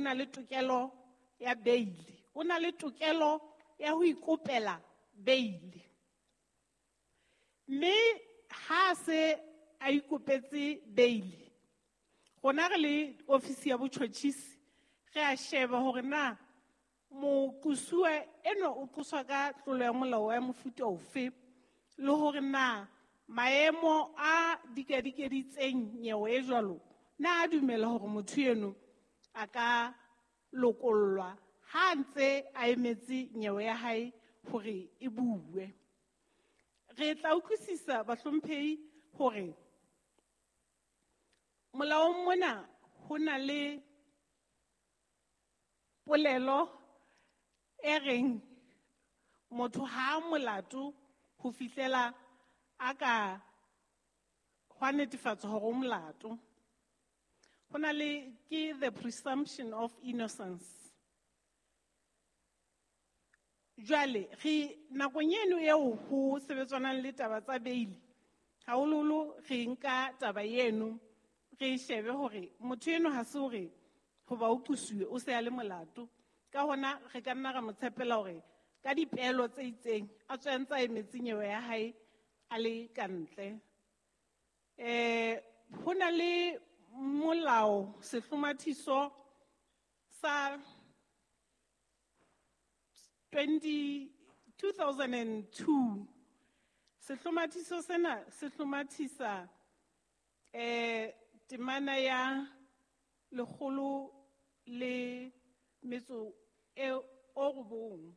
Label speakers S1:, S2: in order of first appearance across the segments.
S1: na le tokelo ya beili, o na le tokelo ya ho ikopela beili. Mme ha se a ikopetse beili, rona re le ofisi ya botjhotjhisi re a sheba hore na moqosuwa enwa o qoswa ka tlolo ya molao ya mofuta ofe, le hore na maemo a dikadikeditseng nyewe e jwalo na a dumela hore motho eno a ka lokollwa ha a ntse a emetse nyewe ya hae hore e bue. Re tla utlwisisa bahlomphehi hore molaong mona ho na le polelo e reng motho ha a molato ho fihlela a ka hwa netefatsa hore o molato. Ho na le ke the presumption of innocence. Jwale re nakong eno eo ho sebetsanang le taba tsa beili, haholoholo re nka taba eno re shebe hore motho eno ha se hore hoba o qosuwe o se a le molato. Ka hona re ka nna ra mo tshepela hore ka dipeelo tse itseng a tswe a ntse a emetse nyewe ya hae a le ka ntle. Ho na le molao sehlomathiso sa 2002. Sehlomathiso sena se hlomathisa temana ya 109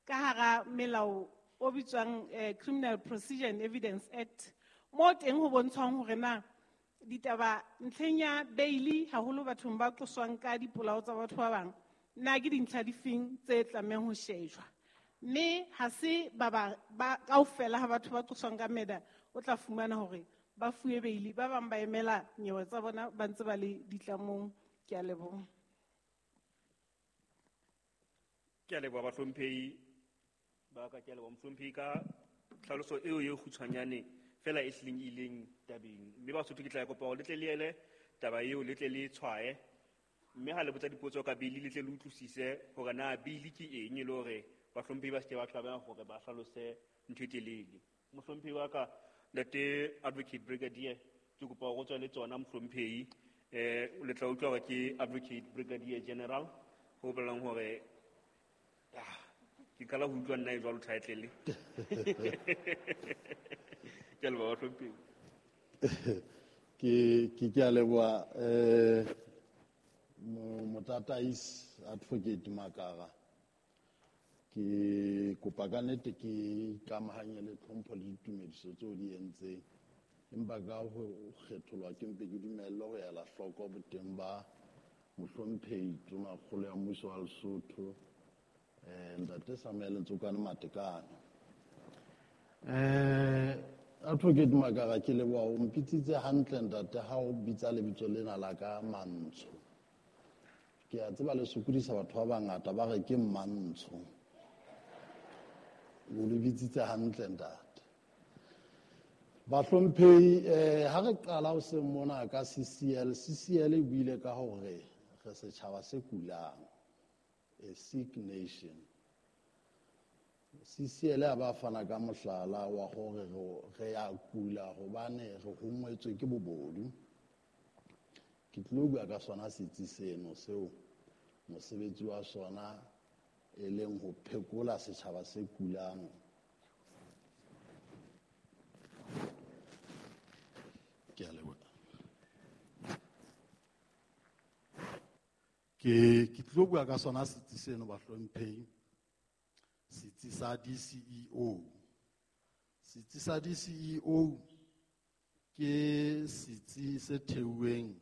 S1: ka hara melao o bitswang Criminal Procedure and Evidence Act, mo teng ho bontshwang hore na ditaba ntlheng ya beili haholo bathong ba qoswang ka dipolao tsa batho ba bang, na ke dintlha difeng tse tlamehang ho shejwa. Mme ha se ba ba kaofela ha batho ba qoswang ka murder o tla fumana hore ba fuwe beili, ba bang ba emela nyewe tsa bona ba ntse ba le ditlamong. Ke a leboha.
S2: Ke a leboha bahlomphehi ba ka, ke a leboha mohlomphehi ka tlhaloso eo e kgutshwanyane fela e hlileng e ileng tabeng. Mme Basotho ke tla kopa hore le tle le ele taba eo, le tle le tshwaye, mme ha le botsa dipotso ka beili le tle le utlwisise hore na beili ke eng, e le hore bahlomphehi ba se ke ba tlameha hore ba hlalose ntho e telele. Mohlomphehi wa ka, Ntate Advocate Brigadier, ke kopa hore o tswe le tsona mohlomphehi. Le tla utlwa hore ke Advocate Brigadier General, ho bolelang hore ke qala ho utlwa nna e jwalo title. Ke a leboha bahlomphehi.
S3: Ke a leboha, Motataisi Advocate Makara. Ke kopa ka nnete ke ikamahanye le tlhompho le ditumediso tseo di entseng, empa ka ho kgetholwa ke mpe ke dumelle ho ela hloko boteng ba mohlomphehi Tonakgolo ya Mmuso wa Lesotho, Ntate Samuel Ntsokane Matekane. Advocate Makara, ke leboha o mpitsitse hantle ntate ha o bitsa lebitso lena la ka Mantsho. Ke a tseba le sokodisa batho ba bangata ba re ke Mmantsho. O le bitsitse hantle ntate. Bahlomphehi, ha re qala ho seng mona ka CCL, CCL e buile ka hore re setjhaba se kulang, a sick nation. CCL a ba fana ka mohlala wa hore re a kula hobane re hongwetswe ke bobodu. Ke tlilo bua ka sona setsi seno seo mosebetsi wa sona e leng ho phekola setjhaba se kulang. Ke a leboha. Ke tlilo bua ka sona setsi seno bahlomphehi, setsi sa DCEO. Setsi sa DCEO ke setsi se theuweng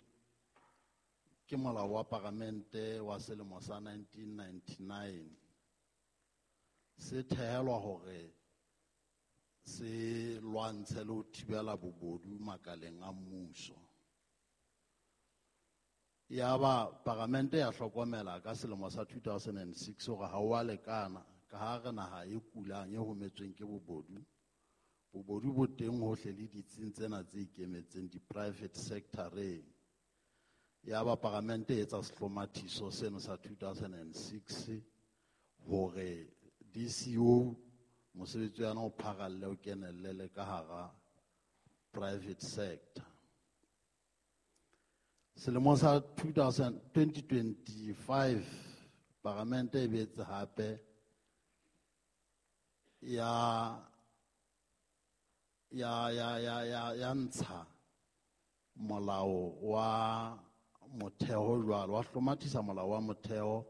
S3: ke molao wa paramente wa selemo sa 1999. Se thehelwa hore se lwantshe le ho thibela bobodu makaleng a mmuso. Yaba paramente ya hlokomela ka selemo sa 2006 hore ha o a lekana ka ha re naha e kulang e hometsweng ke bobodu. Bobodu bo teng hohle le ditsing tsena tse ikemetseng di-private sector-eng. Ya ba paramente e etsa sehlomathiso seno sa 2006 hore DCO mosebetsi wa yona o pharalle o kenelle le ka hara private sector. Selemong sa 2025 paramente e boetse hape ya ya ya ya ya ya ntsha molao wa motheo jwalo, wa hlomathisa molao wa motheo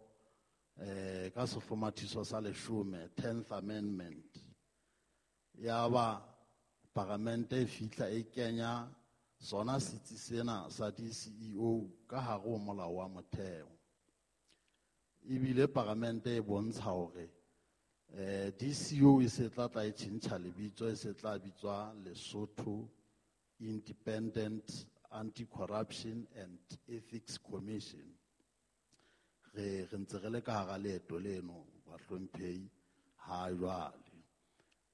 S3: ka sehlomathiso sa leshome, 10th Amendment. Ya ba paramente e fihla e kenya sona setsi sena sa DCEO ka hare ho molao wa motheo. Ebile paramente e bontsha hore DCEO e se tla tla e tjhentjha lebitso, e se tla bitswa Lesotho Independent Anti-Corruption and Ethics Commission. Re ntse re le ka hara leeto leno bahlomphehi ha jwale.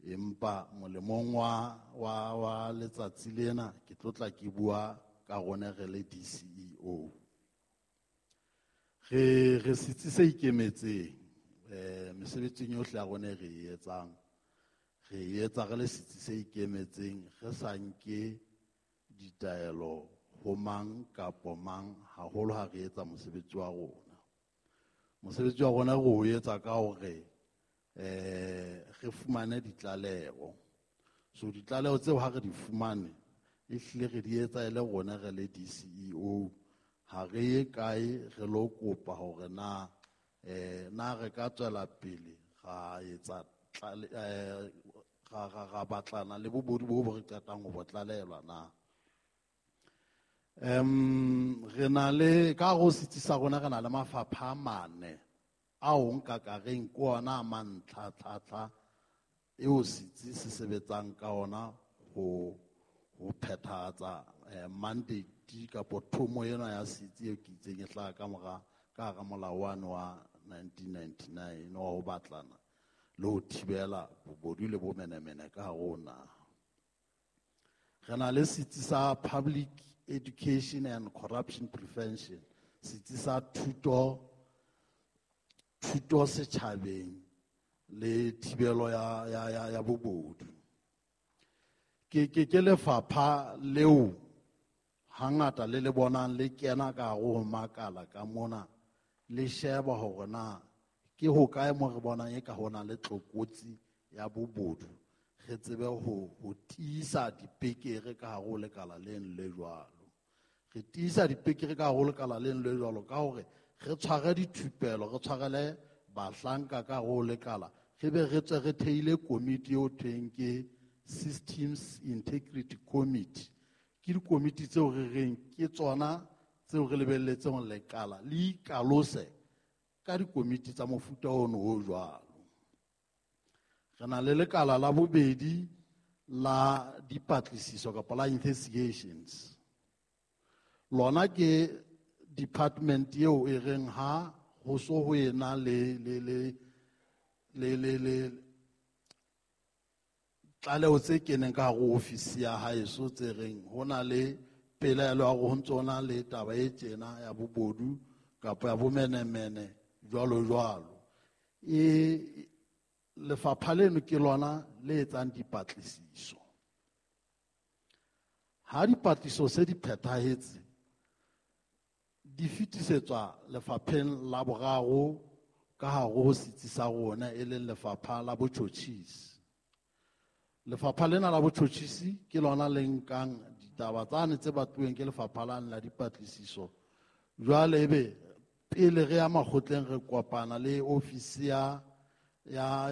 S3: Empa molemong wa letsatsi lena ke tlo tla ke bua ka rona re le DCEO. Re setsi se ikemetseng mesebetsing yohle ya rona re e etsang, re e etsa re le setsi se ikemetseng, re sa nke ditaelo ho mang kapo mang, haholo ha re etsa mosebetsi wa rona. Mosebetsi wa rona re o etsa ka hore re fumane ditlaleho. So ditlaleho tseo ha re di fumane, ehlile re di etsa e le rona re le DCEO. Ha re ye kae re lo kopa hore na na re ka tswela pele ra etsa ra batlana le bobodu bo bo re qetang ho bo tlalelwa na. Re na le ka ho setsi sa rona re na le mafapha a mane ao nka ka reng ke ona a mantlhatlhatlha eo setsi se sebetsang ka ona ho phethahatsa mandate kapo thomo ena ya setsi eo ke itseng e hlaha ka mora ka hara molao wane wa 1999 wa ho batlana le ho thibela bobodu le bomenemene ka hare ho naha. Re na le setsi sa Public Education and Corruption Prevention, setsi sa thuto setjhabeng le thibelo ya bobodu. Ke lefapha leo hangata le le bonang le kena ka hare ho makala ka mona, le sheba hore na ke hokae mo re bonang e ka hona le tlokotsi ya bobodu, re tsebe ho tiisa dipekere ka hare ho lekala leno le jwalo. Re tiisa dipekere ka hare ho lekala leno le jwalo ka hore re tshware dithupelo, re tshwarele bahlanka ka hare ho lekala, re be re tswe re theile komiti eo thweng ke Systems Integrity Committee. Ke dikomiti tseo re reng ke tsona tseo re lebelletseng lekala le ikalose ka dikomiti tsa mofuta ono o jwalo. Re na le lekala la bobedi la dipatlisiso kapa la investigations. Lona ke department eo e reng ha ho so ho ena le tlaleho tse keneng ka hare ho ofisi ya haeso tse reng ho na le pelaelo ya hore ho ntso na le taba e tjena ya bobodu kapa ya bomenemene jwalo jwalo. E lefapha leno ke lona le etsang dipatlisiso. Ha dipatlisiso se di phethahetse, di fetisetswa lefapheng la boraro ka hare ho setsi sa rona e leng lefapha la botjhotjhisi. Lefapha lena la botjhotjhisi ke lona le nkang ditaba tsane tse batluweng ke lefapha lane la dipatlisiso. Jwale ebe pele re ya makgotleng re kopana le ofisi ya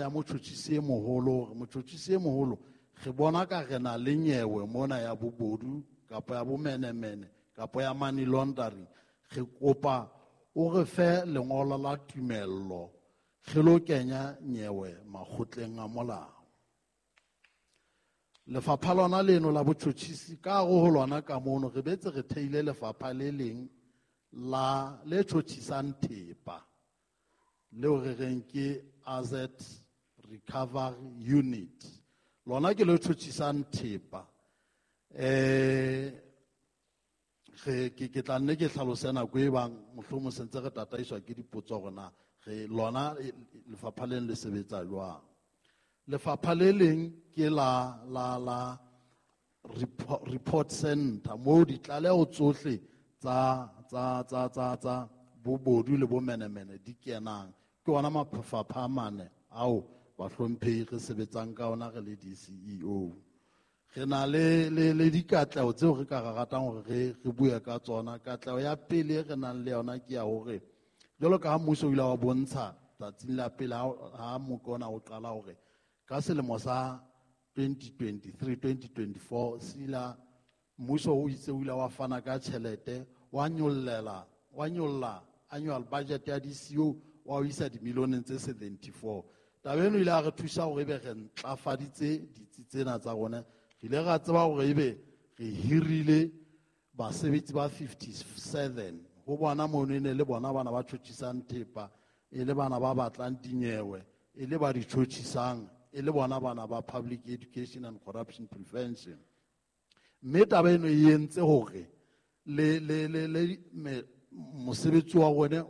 S3: motjhotjhisi e moholo, hore motjhotjhisi e moholo re bona ka re na le nyewe mona ya bobodu kapa ya bomenemene kapa ya money laundering, re kopa o re fe lengolo la tumello re lo kenya nyewe makgotleng a molao. Lefapha lona leno la botjhotjhisi ka hare ho lona ka mono re betse re theile lefapha le leng la le tjhotjhisang thepa leo re reng ke Asset Recovery Unit. Lona ke le tjhotjhisang thepa. Re ke tla nne ke hlalose nako e bang mohlomong se ntse re tataiswa ke dipotso hore na re lona lefapha leng le sebetsa jwang. Lefapha le leng ke la report center moo ditlaleho tsohle tsa bobodu le bomenemene di kenang. Ke ona mafapha a mane ao bahlomphehi re sebetsang ka ona re le DCEO. Re na le dikatleho tseo re ka ratang hore re bue ka tsona. Katleho ya pele re nang le yona ke ya hore jwalo ka ha mmuso o ile wa bontsha tsatsing la pele ha mokona o qala hore ka selemo sa 2023-2024 sila mmuso o itse o ile wa fana ka tjhelete wa nyolla annual budget ya DCO wa o isa dimilioneng tse 74. Taba eno ile ya re thusa hore ebe re ntlafaditse ditsi tsena tsa rona. Re ile ra tseba hore ebe re hirile basebetsi ba 57 ho bona mono e ne le bona bana ba tjhotjhisang thepa, e le bana ba batlang dinyewe, e le ba di tjhotjhisang, e le bona bana ba public education and corruption prevention. Mme taba eno e entse hore le mosebetsi wa rona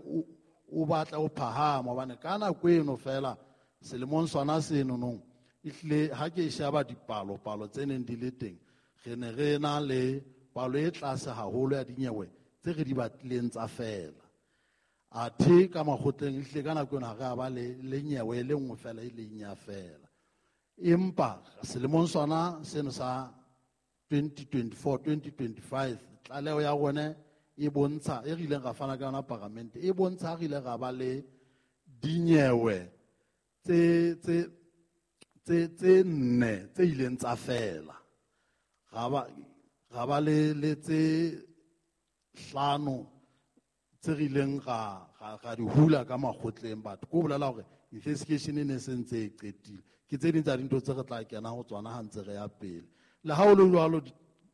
S3: o batla o phahama, hobane ka nako eno fela selemong sona seno nong ehlile ha ke sheba dipalo-palo tse neng di le teng, re ne re na le palo e tlase haholo ya dinyewe tse re di batlileng tsa fela. Athe ka makgotleng ehlile ka nako eno ha re a ba le nyewe e le nngwe fela e leng ya fela. Empa selemong sona seno sa 2024-2025 tlaleho ya rona e bontsha e re ileng ra fana ka yona paramente e bontsha re ile ra ba le dinyewe tse nne tse ileng tsa fela. Ra ba le tse hlano tse re ileng ra di hula ka makgotleng batho. Ko bolela hore investigation e ne se ntse e qetile. Ke tse ding tsa dintho tse re tla kena ho tsona ha ntse re ya pele. Le ha ho le jwalo,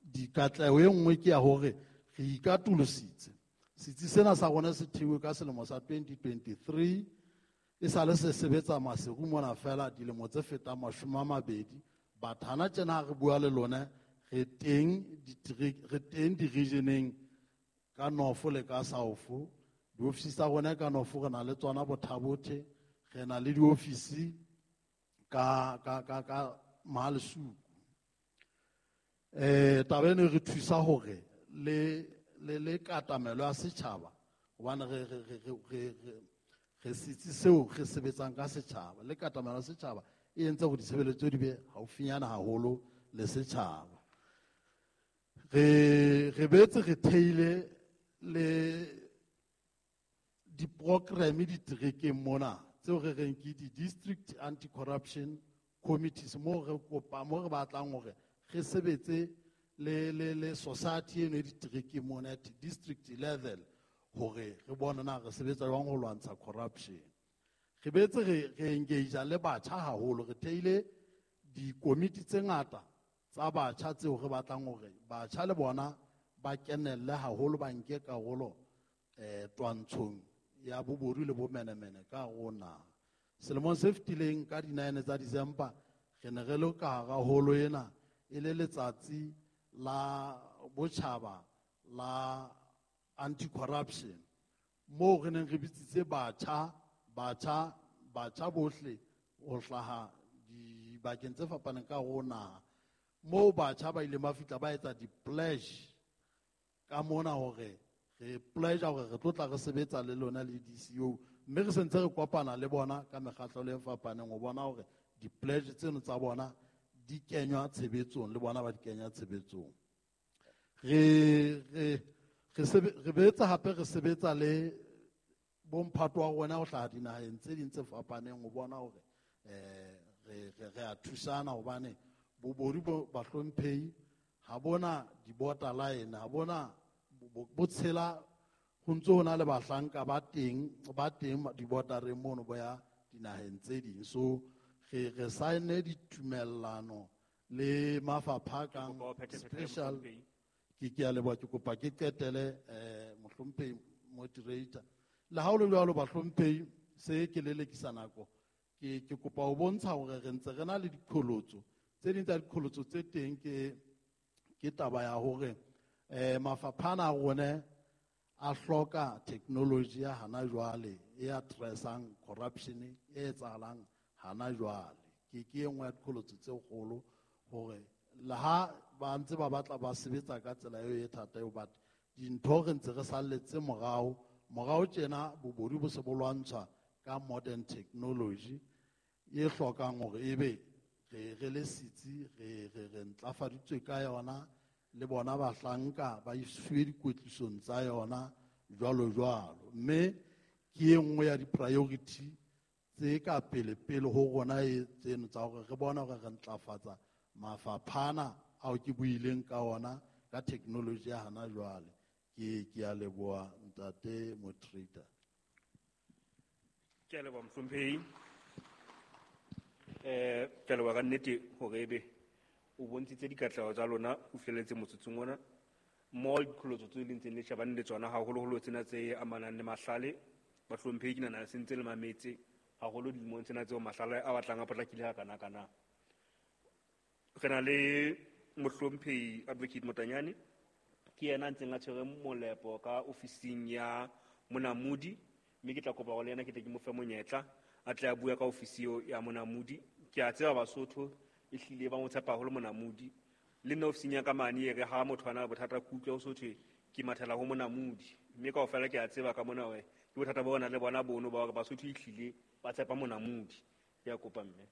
S3: dikatleho e nngwe ke ya hore re ikatolositse. Setsi sena sa rona se thehilwe ka selemo sa 2023, e sale se sebetsa Maseru mona fela dilemo tse fetang 20. Batho hana tjena ha re bua le lona, re teng di-regioneng ka North le ka South. Diofisi tsa rona ka North re na le tsona Bothabothe, re na le diofisi ka Mahalesuku. Taba eno e re thusa hore le katamelo ya setjhaba, hobane re setsi seo re sebetsang ka setjhaba, le katamelo ya setjhaba e entse hore ditshebeletso di be haufinyana haholo le setjhaba. Re boetse re theile le di-programme diterekeng mona tseo re reng ke di-district anti-corruption committees, moo re kopa, moo re batlang hore re sebetse le society eno e diterekeng mona at district level hore re bone na re sebetsa jwang ho lwantsha corruption. Re boetse re engage le batjha haholo, re theile dikomiti tse ngata tsa batjha tseo re batlang hore batjha le bona ba kenelle haholo, ba nke karolo twantshong ya bobodu le bomenemene ka rona. Selemong se fetileng ka di-9 tsa December re ne re le ka hara holo ena e le letsatsi la botjhaba la anti-corruption, moo re neng re bitsitse batjha bohle ho hlaha dibakeng tse fapaneng ka rona, moo batjha ba ileng ba fihla ba etsa di-pledge ka mona hore re pledge hore re tlo tla re sebetsa le lona le DCO, mme re sentse re kopana le bona ka mekgatlo e fapaneng ho bona hore di-pledge tseno tsa bona di kenywa tshebetsong, le bona ba di kenya tshebetsong. Re boetse hape re sebetsa le bomphato wa rona ho hlaha dinaheng tse ding tse fapaneng ho bona hore re a thusana, hobane bobodu bo bahlomphehi ha bona di-border line, ha bona bo tshela ho ntso ho na le bahlanka ba teng di-bordereng mono bo ya dinaheng tse ding. So re saene ditumellano le mafapha kang special. Ke a leboha, ke kopa ke qetele mohlomphehi moderator. Le ha ho le jwalo bahlomphehi, se ke lelekisa nako, ke kopa ho bontsha hore re ntse re na le diqholotso. Tse ding tsa diqholotso tse teng ke taba ya hore Mafapha ana a rona a hloka technology ya hana jwale e addressang corruption e etsahalang hana jwale. Ke e nngwe ya diqholotso tse kgolo hore le ha ba ntse ba batla ba sebetsa ka tsela eo e thata eo, but dintho re ntse re salletse morao. Morao tjena bobodu bo se bo lwantshwa ka modern technology e hlokang hore ebe re le setsi re ntlafaditswe ka yona, le bona bahlanka ba isiwe dikwetlisong tsa yona jwalo jwalo. Mme ke e nngwe ya di-priority tse ka pele pele ho rona e tseno tsa hore re bone hore re ntlafatsa mafaphana ao ke buileng ka ona ka technology ya hana jwale. Ke a leboha ntate moderator.
S2: Ke a leboha mohlomphehi. Ke a leboha ka nnete hore ebe o bontshitse dikatleho tsa lona o fihlelletse motsotsong ona. Mmoho le diqholotso tse le ntseng le shebane le tsona, haholoholo tsena tse amanang le mahlale. Bahlomphehi ke nahana se ntse le mametse haholo dilemong tsena tseo mahlale a batlang a potlakile hakana-kana. Re na le mohlomphehi Advocate Motanyane, ke yena a ntseng a tshwere molepo ka ofising ya Monamodi, mme ke tla kopa hore le yena ke tle ke mo fe monyetla a tle a bue ka ofisi eo ya Monamodi. Ke a tseba Basotho ehlile ba mo tshepa haholo Monamodi. Le nna ofising ya ka mane e re ha motho a na le bothata ke utlwe ho so thwe ke mathela ho Monamodi, mme kaofela ke a tseba ka mona hore ke bothata bo re nang le bona bono ba hore Basotho ehlile ba tshepa Monamodi. Ke a kopa mme.